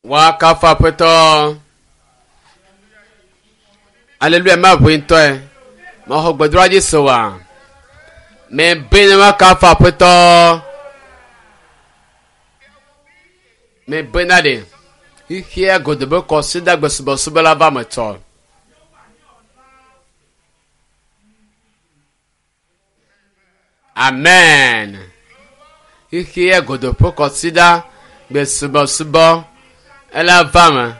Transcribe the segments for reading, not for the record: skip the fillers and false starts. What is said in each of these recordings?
Woakafu Aƒetɔ. Aleluya ma ʋui ŋutɔe. Mexɔ gbedoɖa dzi se oa? Mebe ne woakafu Aƒetɔ. Mebe na ɖe xexea godo be kɔsiɖagbe subɔsubɔ la va me tsɔ. Amen. Xexea godo ƒe kɔsiɖa gbe subɔsubɔ ela va me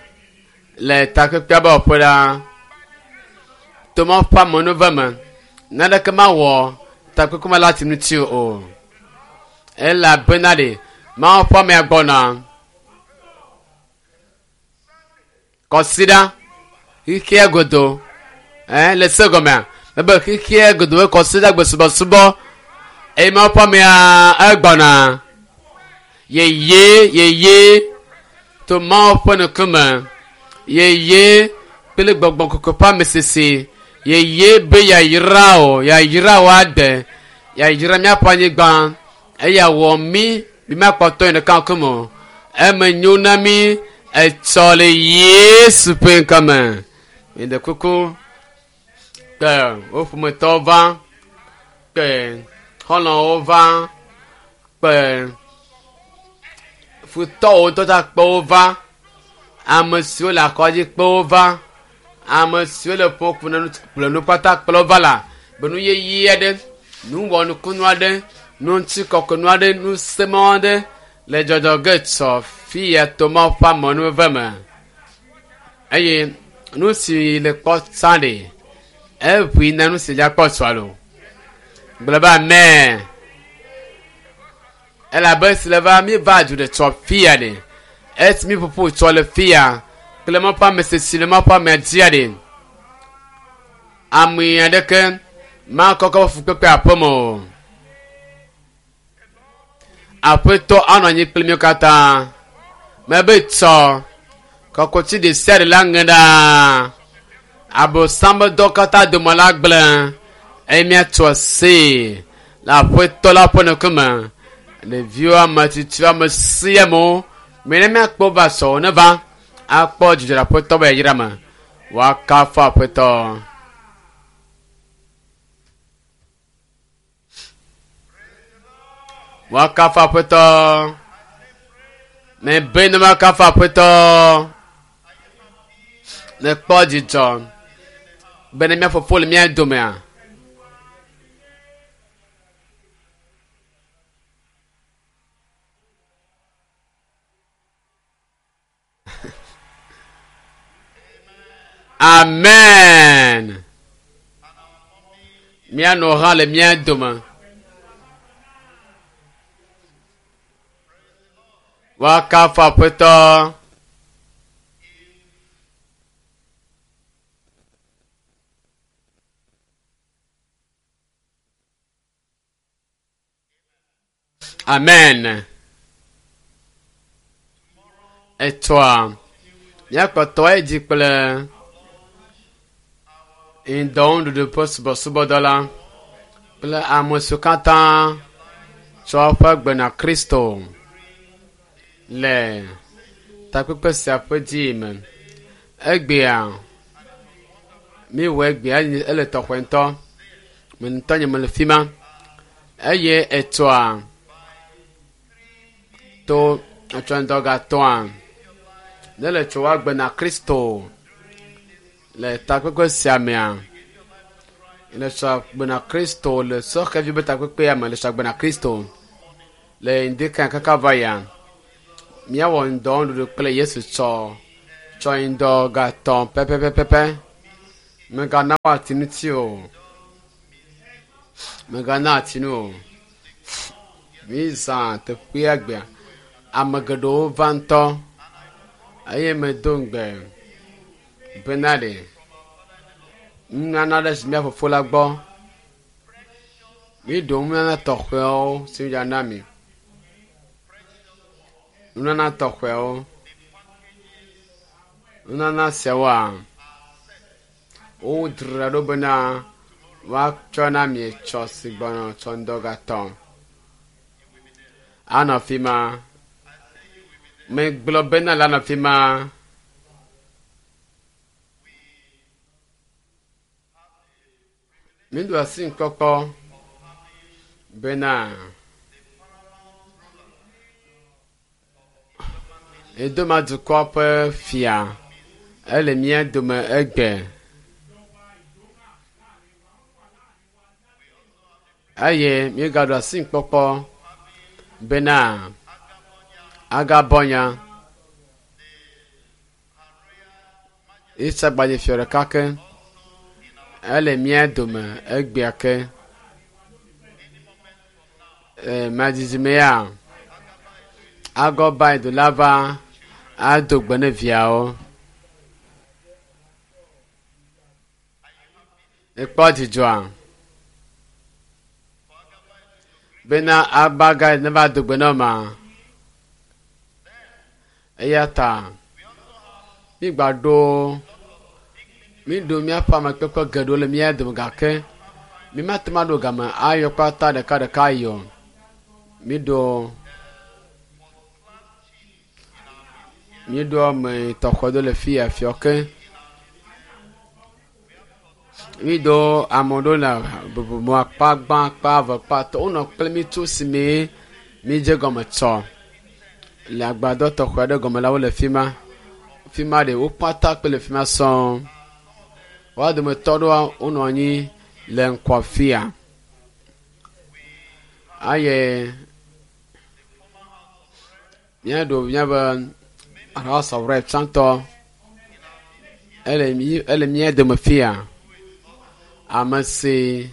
le takpekpea be wɔƒe ɖa. Tomɔ ƒe amenuve me naneke mawɔ takpekpe me la ti ŋuti o. Elabena ɖe Mawu ƒe amea gbɔna. Kɔsiɖa xexea godo ɛ le se gɔmea ebe xexea godo be kɔsiɖa gbe subɔsubɔ eye Mawu ƒe amea egbɔna. Yeye yeye to Mawu ƒe ŋkume yeye kple gbɔgbɔ kɔkɔe ƒe amesese yeye be yayra o yayra o ade yayra míaƒe anyigba eya wɔ mí mi makpɔtɔ yi ɖeka ŋkume o eme nyo na mí etsɔ le Yesu ƒe ŋkɔme mi ɖe kuku kpe wo ƒometɔwo va kpe xɔlɔ̃wo va kpe futɔwo ŋutɔ ta kpe wo va ame siwo le akɔdzi kpe wo va ame siwo le ƒo kple nu kpata kple wo va la be nu yeye aɖe nu wɔnukunu aɖe nu ŋutikɔkɔnu aɖe nu semɔ aɖe le dzɔdzɔ ge tsɔ fi ya to Mawu ƒe amenuveve me eye nu si le kpɔ tsã ɖe eʋui na nu si dza kpɔ tsɔa lo gblɔ be amen elabe si le va mi va du ɖe tsɔ fia ɖe esi mi ƒoƒo tsɔ le fia kple Mawu ƒe ame sesi le Mawu ƒe amea dzia ɖe ame aɖeke makɔkɔ ƒe fukpekpe aƒeme o. Aƒetɔ anɔ anyi kpli míwo katã. Mebe tsɔ kɔkuti ɖe sia ɖe la ŋe ɖaa. Abosam ƒe dɔ katã dome la gblẽ eye míatso aseye le aƒetɔ la ƒe ŋkume. Ɖeviwo, ame tsitsiwo, ame sia amewo, mi ne míakpɔ va sɔ ne va akpɔ dzidzɔ le aƒetɔ be yayra me. Woakafu aƒetɔ. Woakafu aƒetɔ. Mebe ne woakafu aƒetɔ. Nekpɔ dzidzɔ be ne mía fofo le mía domea. Amen. Míanɔ hã le mía dome. Woakafu Aƒetɔ. Amen. Etsɔa míakpɔtɔ edzi kple ŋdɔnuɖuɖu ƒe subɔsubɔdɔ la kple ame siwo katã tsɔ woƒe gbe na Kristo le takpekpe sia ƒe dzi me. Egbea míwɔ egbea ele tɔxɛ ŋutɔ. Me ŋutɔ nye mele fi ma eye etsɔa to etsɔ ŋdɔ gatɔa ne le tso woagbe na Kristo le takpekpe sia mea le tsɔ agbe na Kristo le sɔxɛvi be takpekpea me le tsɔ agbe na Kristo le ŋdi kan kaka va ya míawɔ ŋdɔ nuɖuɖu kple Yesu tsɔ tsɔ ŋdɔ gatɔ pɛpɛpɛpɛ megana woati ŋuti o megana ati nu o mízã teƒea gbea ame geɖewo va ŋutɔ eye medo ŋugbe bena ɖe nunana ɖe si mía fofo la gbɔ míɖo nunana tɔxɛwo si mídzana mi nunana tɔxɛwo nunana siawoa wodzra ɖo bena woatsɔ na mi tsɔ si gbɔna tsɔ ŋdɔ gatɔ anɔ fi ma. Megblɔ bena la nɔ fi ma. Míɖo asi ŋkɔkɔ bena Edoma dukɔ ƒe fia ele mía dome egbe. Eye míegaɖo asi ŋkpɔkpɔ bena agabɔnya Isagbadze fia ɖeka ke ele mía dome egbea ke. E, madzidzi ya agɔba do la va ado gbe ne viawo. Ekpɔ dzidzɔa bena agbaga ne va do gbe na ma. Eya ta mígba ɖo míɖo míaƒe amekpekpe geɖewo le mía dome gake mímate ŋu aɖo game ayɔ kpata ɖekaɖeka yi o. Míɖo míɖo ame tɔxɛ ɖewo le fi ya fiɔ ke. Míɖo ame ɖewo le bubume akpa gbã, akpa eve, akpa etɔ̃. Wonɔ kple mí tso esime mídze gɔme tsɔ le agbadɔ tɔxɛ aɖe gɔme la wole fi ma. Fi ma ɖe wo kpata kple le fi ma sɔŋ. Woa dometɔ ɖewoa wonɔ anyi le ŋkɔ fia. Eye míaɖo míaƒe House of Rep tsãtɔ ele mí ele mía dome fia. Ame si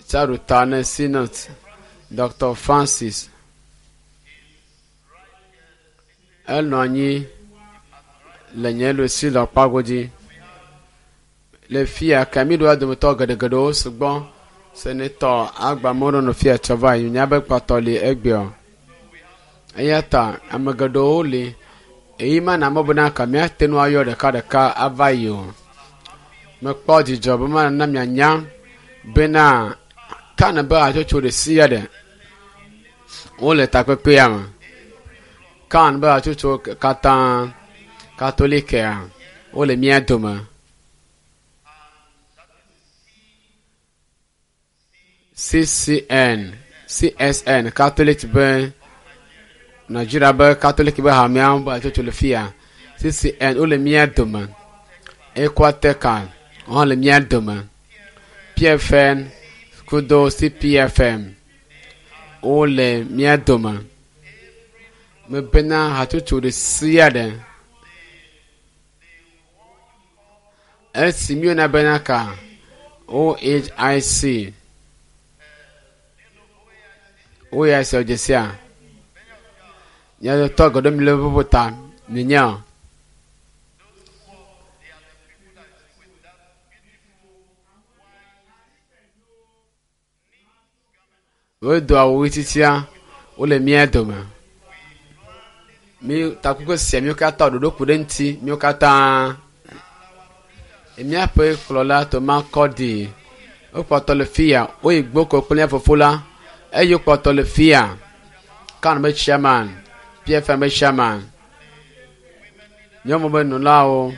tsaɖo ta ne Senate Dr. Francis enɔ anyi le nye ɖusi le kpagodzi. Le fia ke míɖoa dometɔ geɖegeɖewo sugbɔ. Senetɔ agbamewo nɔ fia tsɔ va yi míabe kpɔtɔ li egbea. Eya ta ame geɖewo li eyi mana mɔ bena ka míate ŋu ayɔ ɖekaɖeka ava yi o. Mekpɔ dzidzɔ be mana mianya bena kan be hatsotso ɖe sia ɖe wole takpekpea me. Kan be hatsotso katã katolikea wole mía dome. CCN, CSN, Catholic be Nigeria be Catholic be hamea be hatsotso le fia. CCN wole mía dome. Equateca hã le mía dome. PFN kudo CPFM wole mía dome. Mebena hatsotso ɖe sia ɖe esi míeyɔna bena ka OHIC OHIC wòdze sia mía dometɔ geɖewo mi le ƒoƒo ta mienya o. Wodo awu ɣi tsitsia wole mía dome. Mí takpekpe sia míwo katã ɖoɖo ku ɖe eŋuti míwo katã. Míaƒe kplɔla Toma Kɔdi wokpɔtɔ le fia woyi gboko kple mía fofo la eye wokpɔtɔ le fia. Kan be chairman, PFM be chairman, nyɔnu be nɔlawo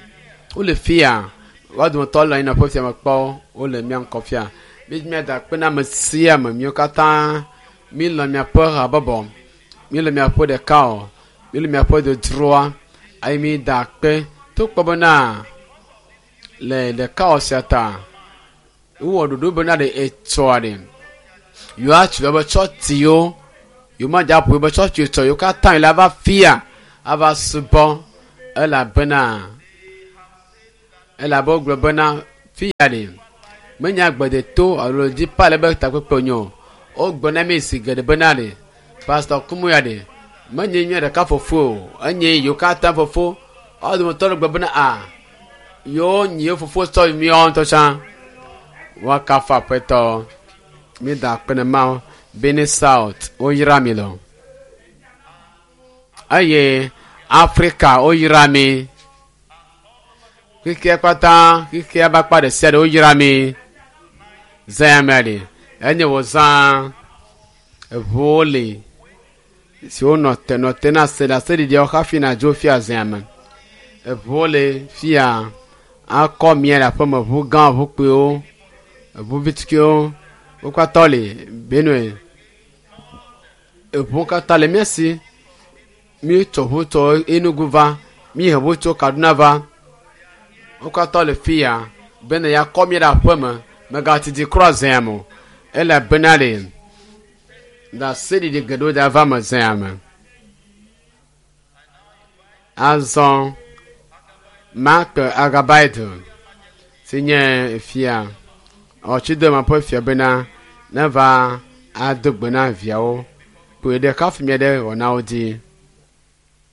wole fia. Woa dometɔ le anyi nɔƒe fia me kpɔ wole mía ŋkɔ fia. Mí míada akpe na ame sia ame míwo katã mílɔ̃ miaƒe habɔbɔ, mílɔ̃ miaƒe ɖeka o, mílɔ̃ miaƒe dodroa eye mída akpe to kpɔ bena le ɖekawɔ sia ta wowɔ ɖoɖo bena ɖe etsɔa ɖe yewoatu yewoƒe tsɔtsiwo yewomadze aƒo yewoƒe tsɔtsi tsɔ yewo katã yi la va fia ava subɔ elabena elabe wogblɔ bena fia ɖe menye agbedeto alo dzipa le be takpekpe wònye o. Wogblɔ na mi zi geɖe bena ɖe Pastor Kumuya ɖe menye mía ɖeka fofo o enye yewo katã fofo. Woa dometɔ ɖe gblɔ bena a yewo nyi yewo fofo sɔ míawo ŋutɔ tsã. Woakafu Aƒetɔ. Mída akpe ne Mawu. Benin South woyra mi le. Eye Afrika woyra mi. Xexea katã xexea ƒe akpa ɖe sia ɖe woyra mi. Zã ya mea ɖe enye wò zã. Eʋuwo li. siwo nɔ te nɔ te na se ɖaseɖiɖiawo hafi nadzo fia zea me. Eʋuwo le fia akɔ mia le aƒeme, ʋu gã, ʋu kpuiwo, eʋu vitukuiwo, wo katã le Benue. Eʋuwo katã le mía si. Míetsɔ ʋu tso Enugu va, míehe ʋu tso Kaduna va. Wo katã le fia bene yeakɔ mía ɖe aƒeme. Megatiti kura zea me o elabena le ɖaseɖiɖi geɖewo da va me zea me. Azɔ Mark Agabaido si nye fia ɔtsidema ƒe fia bena neva ado gbe na viawo kpoe ɖe kafi mía ɖe wɔnawo dzi.